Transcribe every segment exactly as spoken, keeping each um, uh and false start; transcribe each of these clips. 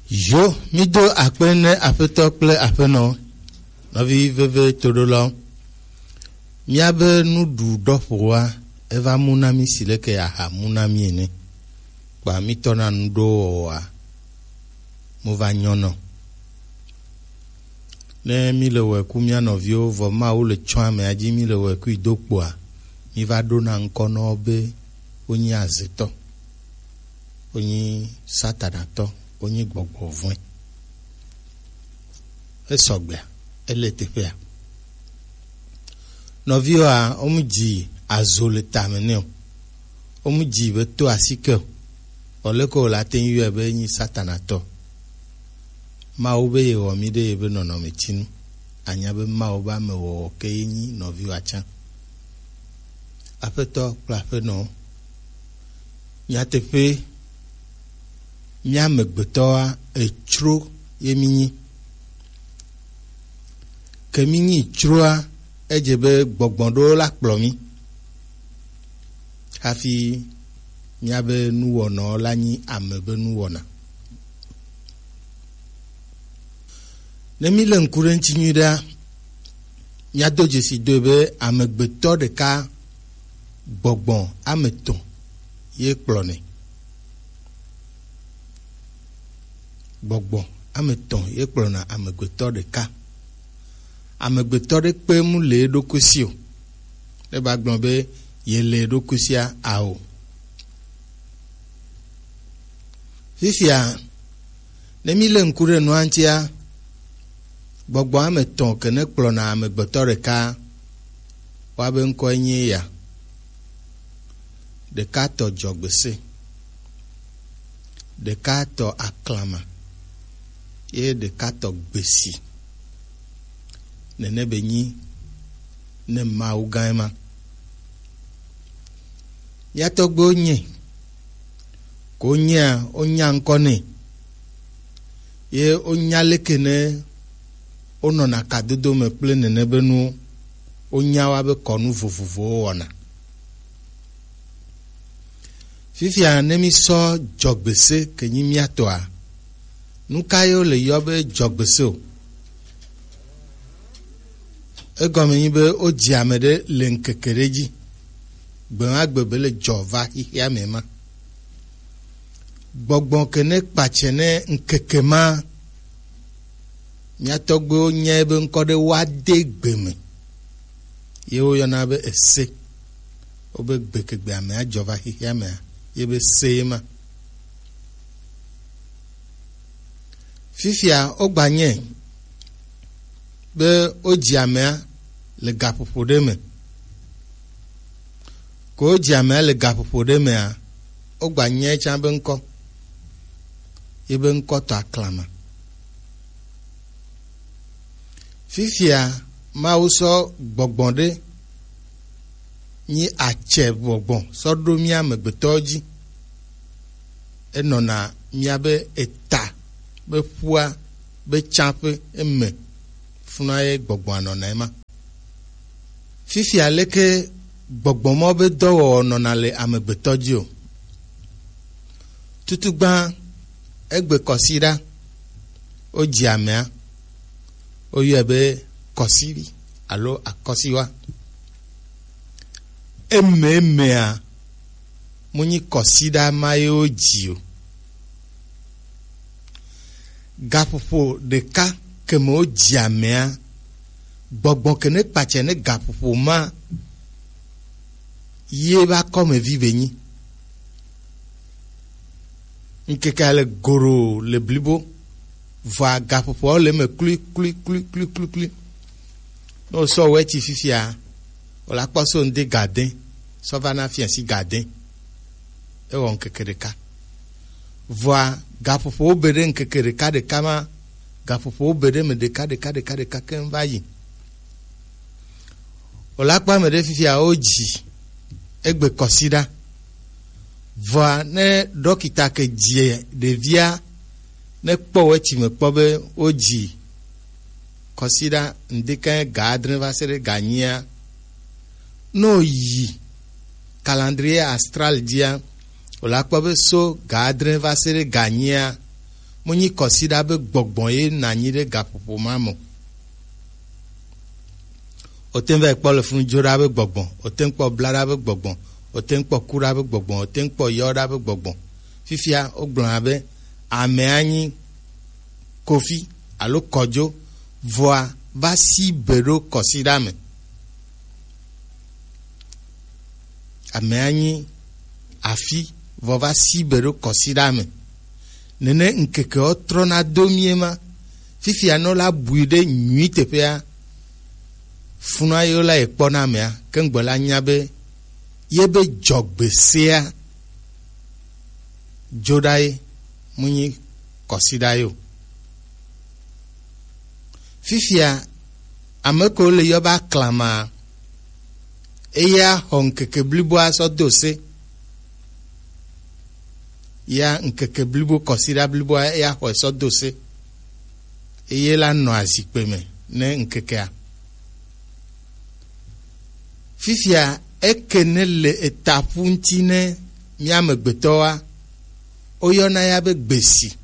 Yo, mi do akpe ne Aƒetɔ kple Aƒenɔ, nɔvi veve toɖolawo. Míabe nuɖuɖɔƒoa eva mu na mí si leke aha mu na mí ene. Kpa mítɔ na nuɖowɔwɔa, mo va nyɔnɔ. Ne míle wɔe ku mía nɔviwo, vɔ Mawu le tsɔ amea dzi, míle wɔe kui do kpoa, míva ɖona ŋkɔ na wo be wonyi azetɔ, wonyi Satanatɔ, wonyi gbɔgbɔ vɔ̃e. Esɔgbea, ele teƒea. Nɔviwoa, womu dzi azo le tame nɛ o. Womu dzi be to asike o. Vɔ leke wòle ate ŋu yɔe be enyi Satanatɔ? Mawu be yewɔ mí ɖe yebe nɔnɔmetinu. Anya be Mawu be amewɔwɔ ke ye nyi nɔviwoa tsã. Aƒetɔ kple aƒenɔwo, nyateƒee, mía amegbetɔa, etsro ye mínyi. Ke mínyi tsroa, edze be gbɔgbɔ ɖewo la kplɔ mí hafi míabe nuwɔnawo la nyi ame be nuwɔna. Ne míle ŋku ɖe eŋuti nyuie ɖea, míado dzesi doe be amegbetɔ ɖeka gbɔgbɔ ame etɔ̃ ye kplɔnɛ. Gbɔgbɔ ame etɔ̃ ye kplɔna amegbetɔ ɖeka. Amegbetɔ ɖe kpe mu le eɖokui si o. Ne ba gblɔ be ye le eɖokui sia ao. Fifia, ne míle ŋku ɖe nua ŋutia, gbɔgbɔ ame etɔ̃ ke ne kplɔna amegbetɔ ɖeka, woabe ŋkɔe nye ya. Ɖeka tɔ dzɔgbese, ɖeka tɔ aklama, ye ɖeka tɔ gbesi. Nene be nyi ne Mawu gã ema. Mía tɔgbuiwo nyɛ, ko nyɛa, wonya ŋkɔ nɛ. Ye wonya leke ne wonɔna kadodo me kple nene be nuwo. Wonya wa be kɔnu vovovowo wɔna. Fifia ne mísɔ dzɔgbese ke nyi mía tɔa, nu ka ye wole yɔ be dzɔgbese o? Egɔme nyi be wodzi ame ɖe le ŋkeke ɖe dzi. Gbe ma gbe be le dzɔ va xixia me ma. Gbɔgbɔ ke ne kpatsɛ ne ŋkeke ma, mía tɔgbuiwo nyae be ŋkɔ ɖe woade gbe me. Ye woyɔna be ese. Wobe gbekegbe ame adzɔ va xixia mea, ye be se ye ma. Fifia wogba nyɛ be wodzi amea le gaƒoƒo ɖe me. Ko wodzi amea le gaƒoƒo ɖe mea, wogba nyɛ tsã be ŋkɔ. Ye be ŋkɔ tɔ aklama. Fifia Mawu sɔ gbɔgbɔ ɖe nyi atsɛ gbɔgbɔ sɔ ɖo mía amegbetɔwo dzi. Enɔna míabe eta be ƒua be tsaƒe eme funua ye gbɔgbɔa nɔna ema. Fifia leke gbɔgbɔ mɔ be dɔwɔwɔ nɔna le amegbetɔ dzi o? Tutugbã, egbe kɔsiɖa, wodzi amea, woyɔe be kɔsivi alo akɔsiwa. Eme emea, mu nyi kɔsiɖa ma ye wodzi o. Gaƒoƒo ɖeka ke me wodzi amea, gbɔgbɔ ke ne kpatsɛ ne gaƒoƒo ma ye ba kɔmevi be nyi. Ŋkeke le goro le blibo, vɔa gaƒoƒoawo le eme klui klui klui klui klui klui. Ne wosɔ wɛtsi fifia, wòle akpɔ so ŋdi gade, sɔ va na fiasi gade. Ewɔ ŋkeke ɖeka. Vɔa gaƒoƒowo be ɖe ŋkeke ɖeka ɖeka ma, gaƒoƒowo be ɖe me ɖeka ɖeka ɖeka ɖeka keŋ va yi. Wòle akpɔ ame ɖe fifia wodzi egbe kɔsiɖa. Vɔa ne ɖɔkita ke dzi ɖevia, ne kpɔ wɛtsi me kpɔ be wodzi kɔsiɖa ŋdekɛ ga adre va se ɖe ga nyia, ne wòyi calendrier astral dzia, wòle akpɔ be so ga adre va se ɖe ga nyia, Mu nyi kɔsiɖa be gbɔgbɔ ye na nyi ɖe gaƒoƒo ma me. O te ŋu va yi kpɔ le funu dzo ɖa be gbɔgbɔ, o te ŋu kpɔ bla ɖa be gbɔgbɔ, o te ŋu kpɔ ku ɖa be gbɔgbɔ, o te ŋu kpɔ yɔ ɖa be gbɔgbɔ. Fifia wogblɔna be amea nyi kofi alo kɔdzo, vɔa va si be ɖo kɔsiɖa me. Amea nyi afi vɔ va si be ɖo kɔsiɖa me. Nene ŋkekewo trɔna do mie ma. Fifia ne wola bui ɖe nyui teƒea, funua yewo la ye kpɔna amea, ke ŋgbe la nya be ye be dzɔgbesea dzo ɖa ye, mu nyi kɔsiɖa ye o. Fifia ame kewo le yɔ be aklama, eya xɔ ŋkeke bliboa sɔ do se. Ya ŋkeke blibo, kɔsiɖa bliboa eya xɔe sɔ do se. Eye la nɔ azikpe me ne ŋkekea. Fifia eke ne le etaƒu ŋuti ne mía amegbetɔwoa, woyɔna ya be gbesi.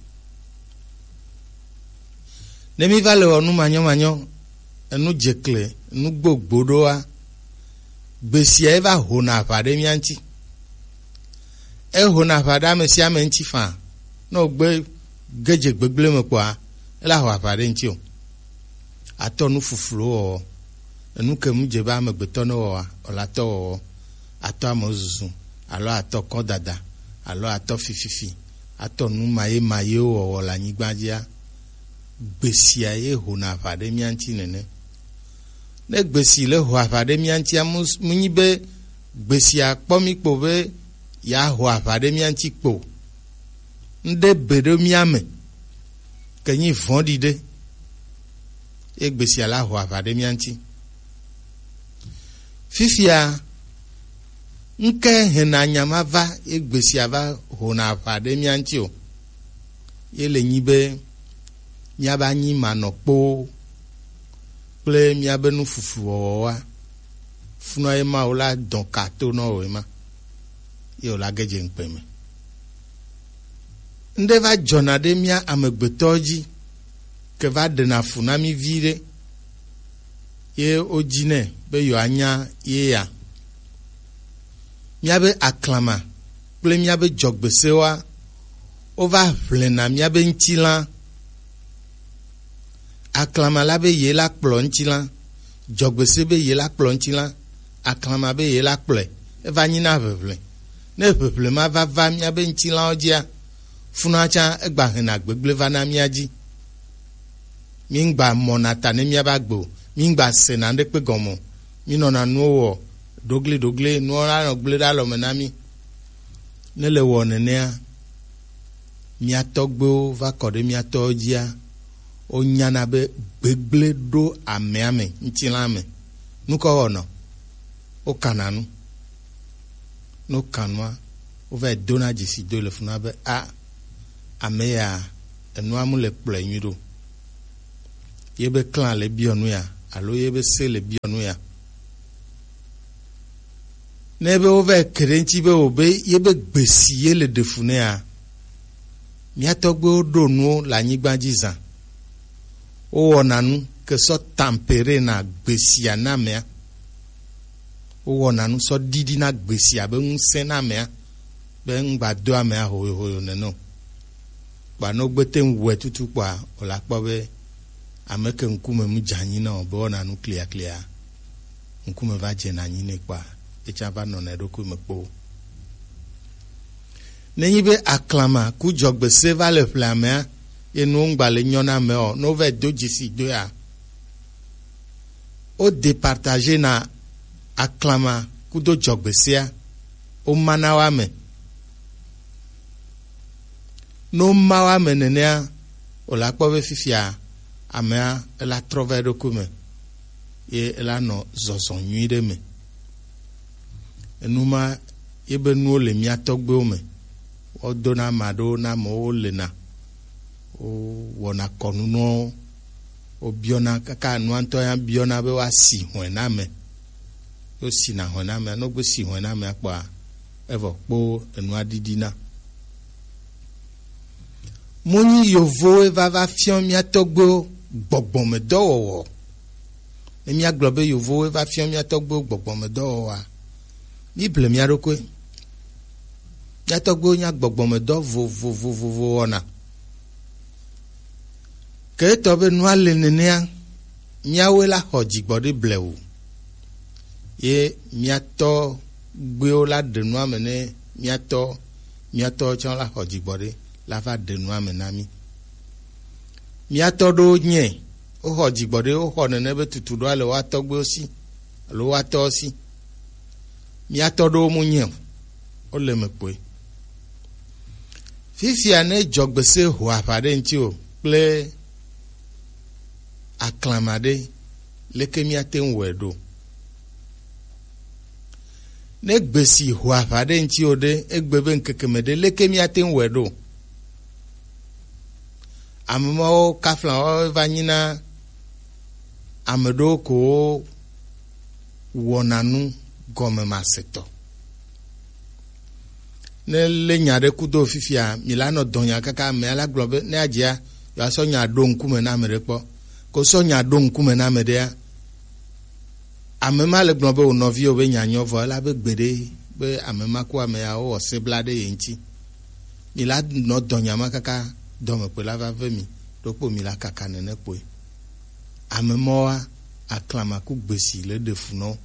Ne mi va le wɔ nu manyɔmanyɔ, enu dzekle, enu gbogbo ɖoa, gbesia eva hona aʋa ɖe mía ŋuti. Ehona aʋa ɖe ame sia ame ŋuti faa. Ne wògbe ge dze gbegblẽ me kpɔa, ela ho aʋa ɖe ŋuti o. Atɔ nu fufluwo wɔwɔ. Enu ke mu dze be amegbetɔ ne wɔa, wòle atɔ wɔwɔ. Atɔ amewo zuzu, alo atɔ kɔdada, alo atɔ fififi, atɔ nu maye mayewo wɔwɔ le anyigba dzia, gbesia ye hona aʋa ɖe mía ŋuti nene. Ne gbesi le ho aʋa ɖe mía ŋutia, mu, mu nyi be gbesia kpɔ mí kpo be yeaho aʋa ɖe mía ŋuti kpo. Ŋɖe be ɖo mía me, ke nyi vɔ̃ɖi ɖe, ye gbesia la ho aʋa ɖe mía ŋuti. Fifia, ŋke hena nya ma va, ye gbesia va hona aʋa ɖe mía ŋuti o. Ye le nyi be míava nyi manɔkpowo kple míabe nufufu wɔwɔwoa, funɔ ye ma wòla dɔn ka to nɔ wò ye ma, ye wòla ge dze ŋukpe me. Ŋɖe va dzɔna ɖe mía amegbetɔwo dzi, ke va ɖena fu na mí viɖe, ye wodzinɛ be yewoanya ye ya. Míabe aklama kple míabe dzɔgbesewoa, wova ʋlena míabe ŋutilã. Aklama la be ye la kplɔ ŋutilã, dzɔgbese be ye la kplɔ ŋutilã, aklama be ye la kplɔe, eva nyina ʋeʋle. Ne ʋeʋle ma va va míabe ŋutilãwo dzia, funua tsã egba hena gbegblẽ va na mía dzi. Míŋgba mɔna ta ne míabe agbe o, míŋgba sena ŋɖekpe gɔme o, mínɔna nuwo wɔ ɖogliɖogli, nuwo la nɔ gblẽ ɖe alɔme na mí. Ne le wɔ nenea, mía tɔgbuiwo va kɔ ɖe mía tɔwo dzia, wonyana be gbegblẽ ɖo amea me, ŋutilã me. Nu ka wowɔna? Wokana nu. Ne woka nua, wova yi dona dzesi doe le funua be, a, ame ya, enua mu le kplɔe nyui ɖo. Ye be klã le biɔ nu ya, alo ye be se le biɔ nu ya. Ne be wova yi ke ɖe ŋuti be wòbe ye be gbesi ye le ɖe fu nɛa, mía tɔgbuiwo ɖo nuwo le anyigba dzi zã. Wowɔna nu ke sɔ tampere na gbesia na amea. Wowɔna nu sɔ ɖiɖi na gbesia be ŋusẽ na amea, be ŋgba do amea hoyohoyo nene o. Kpa ne wogbe te ŋu wɔe tutu kpɔa, wòla kpɔ be ame ke ŋkume mu dze anyi na o be wɔna nu kliaklia, ŋkume va dzena anyi nɛ kpɔa, etsã va nɔna eɖokui me kpoo. Nenyi be aklama ku dzɔgbese va le ƒle amea, ye nuwo ŋgba le nyɔ na ame o, ne wova yi do dzesi doea, wo départager na aklama kudo dzɔgbesea, wo ma na wo ame. Ne wo ma wo ame nenea, wòla kpɔ be fifia amea ela trɔ va eɖokui me, ye ela nɔ zɔzɔ nyui ɖe me. Enu ma ye be nuwo le mía tɔgbuiwo me. Wodona ame aɖewo na amewo, wolena, wowɔna kɔnu nɔ wo, wobiɔna kaka nua ŋutɔ ya biɔna be woasi hɔ̃e na ame. Wosina hɔ̃e na amea, ne wogbe si hɔ̃e na amea kpɔa, evɔ kpo enua ɖiɖina. Mu nyi yovowo va va fiɔ mía tɔgbuiwo gbɔgbɔmedɔwɔwɔ. Ne míagblɔ be yovowo va fiɔ mía tɔgbuiwo gbɔgbɔmedɔwɔwɔa, míble mía ɖokui. Mía tɔgbuiwo nya gbɔgbɔmedɔ vovovovovo wɔna. Ke etɔ be nua le nenea, míawoe la xɔ dzigbɔɖi blewu. Ye mía tɔgbuiwo la ɖe nua me ne mía tɔ, mía tɔwo tsã la xɔ dzigbɔɖi la va ɖe nua me na mí. Mía tɔ ɖewo nyɛ, woxɔ dzigbɔɖi, woxɔ nene be tutu ɖoa le woa tɔgbuiwo si alo woa tɔwo si. Mía tɔ ɖewo mu nyɛ o, wole me kpoe. Fifia ne dzɔgbese ho aʋa ɖe ŋuti o kple aklama ɖe, leke míate ŋu wɔe ɖo? Ne gbesi ho aʋa ɖe ŋuti o ɖe, egbe be ŋkeke me ɖe, leke míate ŋu wɔe ɖo? Ame mawo kafla wo va nyina ame ɖewo ko wɔna nu gɔmemasetɔ. Ne lé nya ɖe kudo fifia, mi la nɔ dɔ nya kaka amea la gblɔ be ne adzia, yewoasɔ nya ɖo ŋkume na ame ɖe kpɔ. Ko sɔ nya ɖo ŋkume na ame ɖea, ame ma le gblɔ be wò nɔviwo be nya nyɔ vɔ ela be gbeɖe be ame ma ku ame ya wowɔ sebla ɖe ye ŋuti. Mi la nɔ dɔ nya ma kaka dɔmekpɔe la va ve mi ɖokpo mi la kaka nene kpoe. Ame mɔwoa, aklama ku gbesi le ɖe fu nɔ wo.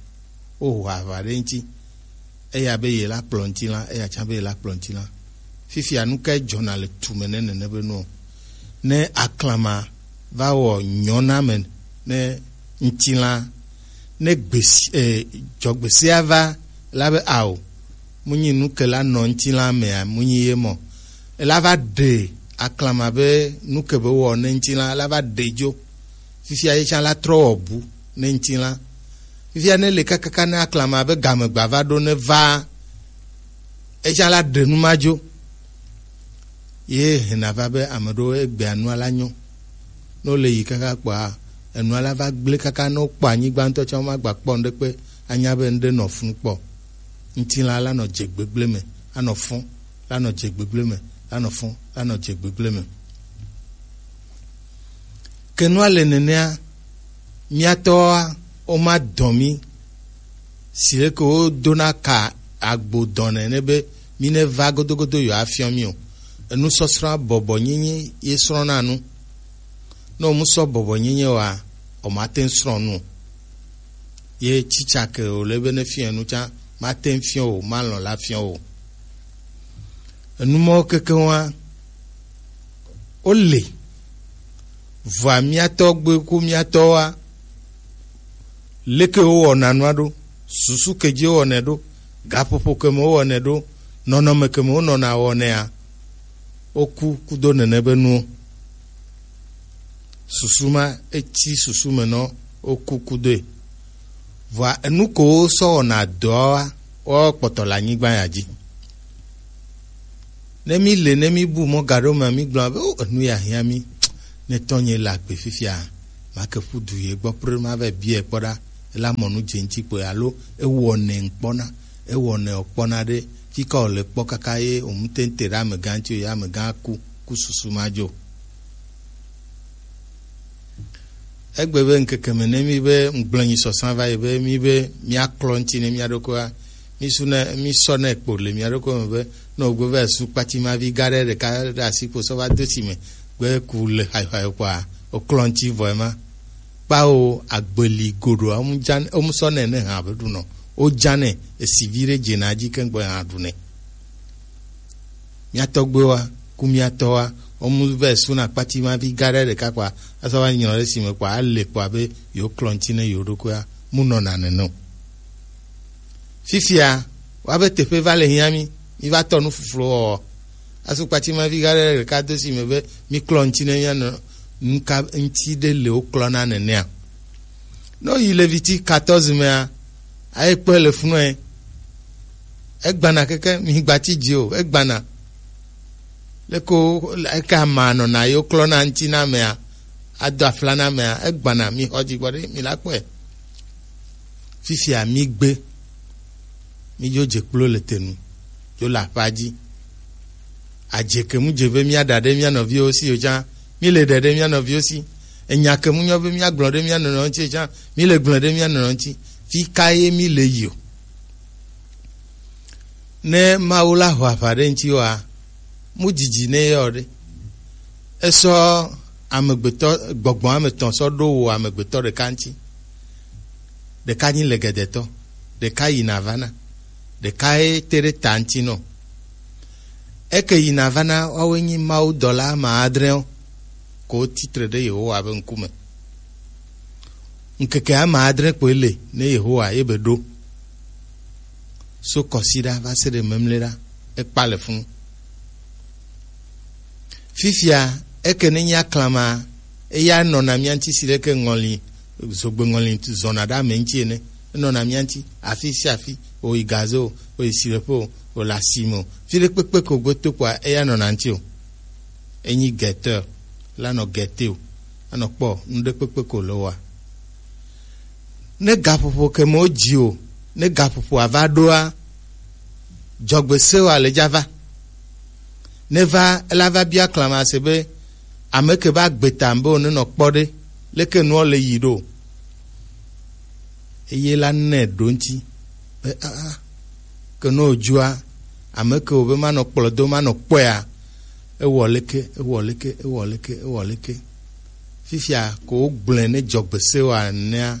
Woho aʋa ɖe ŋuti. Eya be ye la kplɔ ŋutilã, eya tsã be ye la kplɔ ŋutilã. Fifia nu kae dzɔna le tu me ne nene be nuɔ? Ne aklama va wɔ nyɔna me ne ŋutilã, ne gbesi, e, dzɔgbesea va la be ao, mu nyi nu ke la nɔ ŋutilã mea, mu nyi ye mɔ. Ela va ɖe aklama be nu ke be wɔ ne ŋutilã, ela va ɖe dzo. Fifia ye tsã la trɔ wɔ bu ne ŋutilã. Fifia ne le kakaka ne aklama be game gba va ɖo ne va, etsã la ɖe nu ma dzo. Ye hena va be ame ɖewo egbea nua la nyɔ. Ne wole yi kaka kpɔa, enua la va gblẽ kaka ne wokpɔ anyigba ŋutɔ tsã womagba kpɔ ŋɖekpe anya be ŋɖe nɔ funu kpɔ. Ŋutilã la nɔ dze gbegblẽ me, anɔ fɔ, la nɔ dze gbegblẽ me, la nɔ fɔ, la nɔ dze gbegblẽ me. Ke nua le nenea, mía tɔwoa, woma dɔ mí si leke wodona ka agbo dɔ nɛ ne be mí ne va godogodo yewoafiɔ mí o. Enusɔsrɔ̃a bɔbɔnyenye ye srɔ̃na nu. Ne womu sɔ bɔbɔnyenye oa, womate ŋu srɔ̃ nu o. Ye tsitsa ke wòle be ne fiɔ enu tsã, mate ŋu fiɔ o, malɔ̃ la fiɔ o. Enu mawo kekeŋua, wole. Vɔa mía tɔgbe ku mía tɔwoa, leke wowɔna nua ɖo, susu ke dzi wowɔnɛ ɖo, gaƒoƒo ke me wowɔnɛ ɖo, nɔnɔme ke me wonɔna wɔnɛa, woku kudo nene be nuwo. Susu ma etsi susu me nɔ woku kudoe. Vɔa enu ko wosɔ wɔna dɔa wa, woawo kpɔtɔ le anyigba ya dzi. Ne mí le, ne mí bu mɔ gaɖo mea, mí gblɔna be, o, enu ya hiã mí. Ne tɔnye le agbe fifia, make ƒu du ye gbɔ prim ava biae kpɔ ɖa, ela mɔ nu dze ŋuti kpoe alo ewɔ nɛ ŋkpɔna, ewɔ nɛ wòkpɔna ɖe, fika wòle kpɔ kaka ye wòmu te ŋu te ɖe amegã ŋuti o, ye amegã ku, ku susu ma dzo. Egbe be ŋkeke me ne mí be ŋgblẽ nyi sɔsã va yi be mí be míaklɔ ŋuti ne mía ɖokuiwoa, mí su ne, mí sɔ ne kpo le mía ɖokui me be ne wògbe va su kpati ma vi gã ɖe ɖeka ɖe asi kpo sɔ va do si me gbe ku le xaxaxo kpɔa, woklɔ ŋuti vɔ ema. Kpao agbeli goɖoa, womu dza, womu sɔ nɛ ne hã be ɖunɔ. Wodza nɛ, esi vi ɖe dzena dzi keŋ gbɔ hã ɖu nɛ. Mía tɔgbuiwoa, ku mía tɔwoa, womu vɛ suna kpati ma vi gã ɖe ɖeka kpɔa, asɔ va nyrɔ ɖe si me kpɔa, ale kpɔa be yewo klɔ ŋuti ne yewo ɖokuia, mu nɔna nene o. Fifia, woa be teƒe va le hiã mí, mí va tɔ nu fuflo wɔwɔ. Asu kpati ma vi gã ɖe ɖeka do si me be mí klɔ ŋuti ne mía nɔ nuka ŋuti ɖe le wo klɔna nenea. Ne woyi Leviti quatorze mea, aye kpɔe le funu ɛ. Egbana keke, mi gbati dzi o, egbana. Leke wo, eke amea nɔna ye woklɔna ŋuti na amea, ado afla na amea, egbana, mi xɔ dzigbɔ ɖe, mi la kpɔe. Fifia mi gbe, mi dzo dze kplo le te nu, dzo le aƒea dzi. Adze ke mu dze be mía ɖa ɖe mía nɔviwo si o tsã, mí le ɖe ɖe mía nɔviwo si. Enya ke mu nyɔ be mía gblɔ ɖe mía nɔnɔewo ŋuti o tsã, mí le gblɔ ɖe mía nɔnɔewo ŋuti. Fi ka ye mí le yi o? Ne Mawu la ho aʋa ɖe ŋuti oa, mu didi ne yɔ ɖe. Esɔ amegbetɔ gbɔgbɔ ame tɔn sɔ ɖo wo amegbetɔ ɖeka ŋuti. Ɖeka nyi legedetɔ, ɖeka yina vana, ɖeka ye te ɖe ta ŋuti nɔ. Eke yina vana woawoe nyi Mawu dɔla ame adre wo, ko titre ɖe Yehowa be ŋkume. Ŋkeke ame adre kpoe le ne Yehowa ye be ɖo. So kɔsiɖa va se ɖe memleɖa, ekpa le funu. Fifia, eke ne nyi aklama, eya nɔna mía ŋuti si leke ŋɔli, zogbe ŋɔli zɔna ɖe ame ŋuti ene. Enɔna mía ŋuti afi sia afi, o yi gaze o, o yi sileƒe o, o le asime o. Fi ɖe kpekpe ko gbe to kpoa, eya nɔna ŋuti o. Enyi guetteur, la nɔ guetter o, anɔ kpɔ nu ɖe kpekpe ko le oa. Ne gaƒoƒo ke me wodzi o, ne gaƒoƒoa va ɖoa, dzɔgbe sewa le dza va. Ne va, ela va bia klamase be, ame ke va gbe ta be wòne nɔ kpɔ ɖe, leke nua le yi ɖo. Eye la nɛ ɖo ŋuti be, aa, ke ne wòdzua, ame ke wòbe manɔ kplɔ do, manɔ kpɔea, ewɔ leke, ewɔ leke, ewɔ leke, ewɔ leke. Fifia ko wogblɔe ne dzɔgbe sewa nea,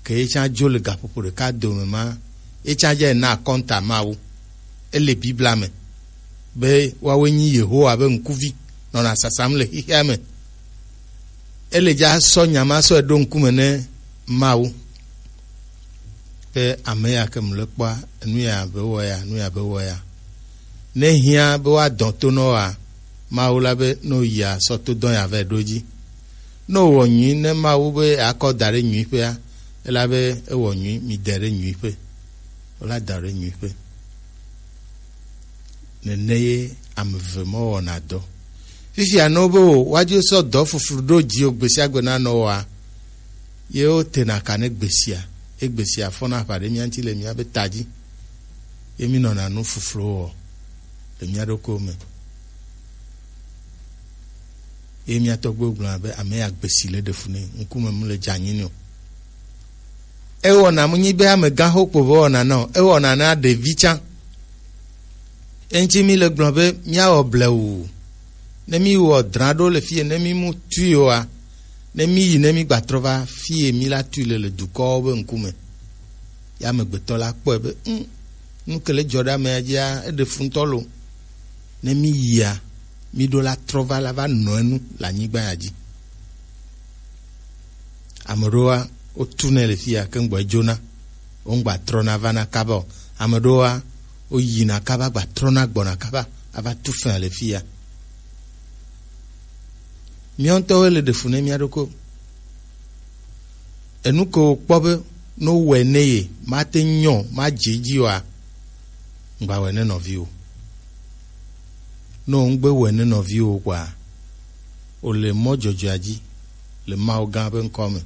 ke ye tsã dzo le gaƒoƒo ɖeka dome ma, ye tsã dze na akɔnta Mawu. Ele Biblia me be woawoe nyi Yehowa be ŋkuvi nɔna sasam le xexea me. Ele dza sɔ nya ma sɔe ɖo ŋkume ne Mawu. Ke ame ya ke mle kpɔa, enu ya be wɔ ya, enu ya be wɔ ya. Ne hiã be woadɔ to nɔ wa, Mawu la be ne woyia sɔ to dɔ ya vɛ ɖo dzi. Ne wowɔ nyui ne Mawu be akɔ da ɖe nyuiƒea, ela be ewɔ nyui, mi de ɖe nyuiƒe. Wola da ɖe nyuiƒe. Nene ye ame eve mɔ wɔna dɔ. Fifia ne wobe wo, woadzo sɔ dɔ fuflu ɖo dzi o gbe sia gbe na nɔ wɔa, ye wotena ka ne gbesia, ye gbesia fɔna aʋa ɖe mía ŋuti le míabe ta dzi, ye mínɔna nu fufluwo wɔ le mía ɖokuiwo me. Ye mía tɔgbuiwo gblɔna be, ame ya gbesi le ɖe fu nɛ, ŋkume mu le dze anyi nɛ o. Ewɔna mu nyi be amegã xo kpo be wɔna na o, ewɔna na ɖevi tsã. Eŋuti mi le gblɔ be míawɔ blewu. Ne mi wɔ dra ɖo le fie, ne mi mu tui oa, ne mi yi, ne mi gba trɔ va fie mi la tui le, le dukɔwo be ŋkume. Ya amegbetɔ la kpɔe be, ŋ, nu ke le dzɔ ɖe amea dzia, eɖe fu ŋutɔ lo. Ne mi yia, mi ɖo la trɔ va la va nɔ enu le anyigba ya dzi. Ame ɖewoa, wotunɛ le fia ke ŋgbɔ edzona, wo ŋgba trɔna vana kaba o. Ame ɖewoa, woyina kaba gba trɔna gbɔna kaba ava tu fea le fia. Míawo ŋutɔwoe le ɖe fu ne mía ɖokui. Enu ke wokpɔ be ne wowɔe ne ye, mate ŋu nyɔ, madze edzi oa, ŋgba wɔe ne nɔviwo. Ne wò ŋgbe wɔe ne nɔviwo kpɔa, wòle mɔ dzɔdzɔea dzi le Mawu gã ƒe ŋkɔ me.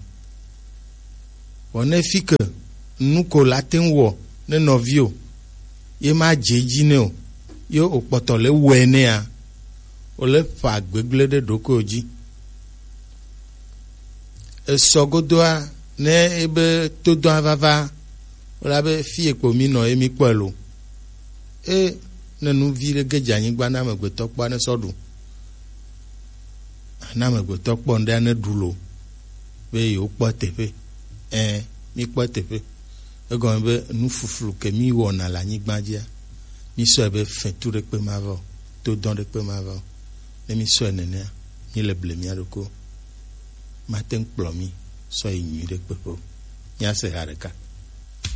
Vɔ ne fi ke nu ko la te ŋu wɔ ne nɔviwo, ye madze edzi nɛ o, ye wòkpɔtɔ le wɔe nɛa, wòle ƒa gbegblẽ ɖe ɖokuiwò dzi. Esɔ godoa, ne ebe todɔa vava, wòla be fi ekpo mi nɔ ye mi kpɔe lo. E, ne nu vi ɖe ge dze anyigba na amegbetɔ kpɔa ne sɔ ɖu. Na amegbetɔ kpɔ ŋɖe ne ɖu lo, be yewo kpɔ teƒe. Ɛ, mi kpɔ teƒe. Egɔme be nu fuflu ke mi wɔna le anyigba dzia, mi sɔe be fetu ɖekpe ma va o, todɔn ɖekpe ma va o. Ne mi sɔe nenea, mi le ble mia ɖokui. Mate ŋu kplɔ mi sɔ yi nyui ɖekpe ƒe o. Mia se ha ɖeka.